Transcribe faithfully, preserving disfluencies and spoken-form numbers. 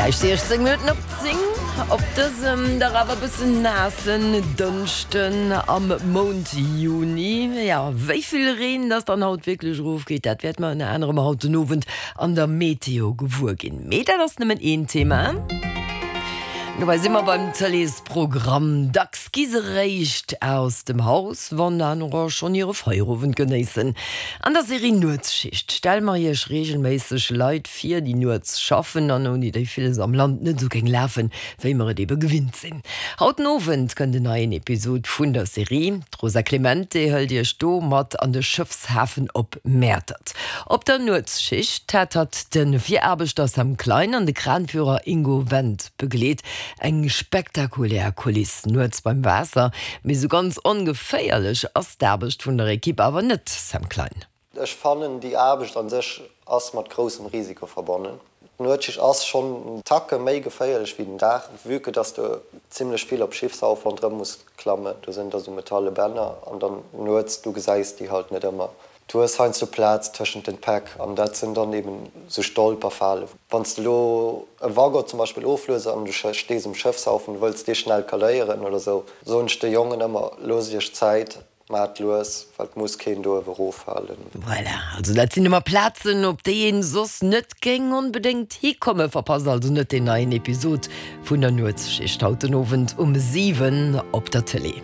Gläich siechzéng Minutten op zéng op dësem dach awer bëssen naassen Dënschden am Mount Juni. Jo, wéi vill Reen dass dann haut wierklech erofgeet, dat wäerte mer ënner anerem haut den Owend an der Meteo gewuer ginn. Mee dat ass nëmmen een Thema. Dobäi si mer beim Tëleesprogramm. Dacks gi se réischt aus dem Haus, wann anerer schonn hire Feierowend genéissen. An der Serie Nuetsschicht stelle mer iech reegelméisseg Leit vir, déi nuets schaffen an ouni déi villes am Land net esou géing lafen, wéi mer et ebe gewinnt sinn. Haut den Owend kënnt en neien Episod vun der Serie. D'Rosa Clemente hëlt iech do mat an de Schëffshafen op Mäertert. Op der Nuetsschicht hat hatt de Viraarbechter Sam Klein an de Kranführer Ingo Wendt begleet. Eng spektakulär Kuliss nuets beim Waasser, mee sou ganz ongeféierlech ass d'Aarbecht vun der Ekipp awer net, Sam Klein. Ech fannen déi Aarbecht an sech ass mat groussem Risiko verbonnen. D'Nuetsschicht ass schonn en Tacke méi geféierlech wéi den Dag, vue que dass de zimmlech vill op Schiffshauf ronderëm muss klammen. Do sinn da sou metalle Bänner an dann nuets, du gesäis déi halt net ëmmer. Du hues heiansdo Plaz tëschent den Päck an dat sinn dann eben sou Stolperfalen. Wann s de elo e Waggon zum Beispill oflues an du stees um Schëffshaufen, du wëlls dee schnell kaléieren oder sou, soen ech de Jongen ëmmer, Loosst iech Zäit, maacht lues, well et muss keen do ewe roffalen. Voilà, also dat sinn ëmmer Plazen, op déi een soss net géing onbedéngt hikommen. Verpasst also net deen neien Episod vun der Nuetsschicht haut den Owend um siwen op der Tëlee.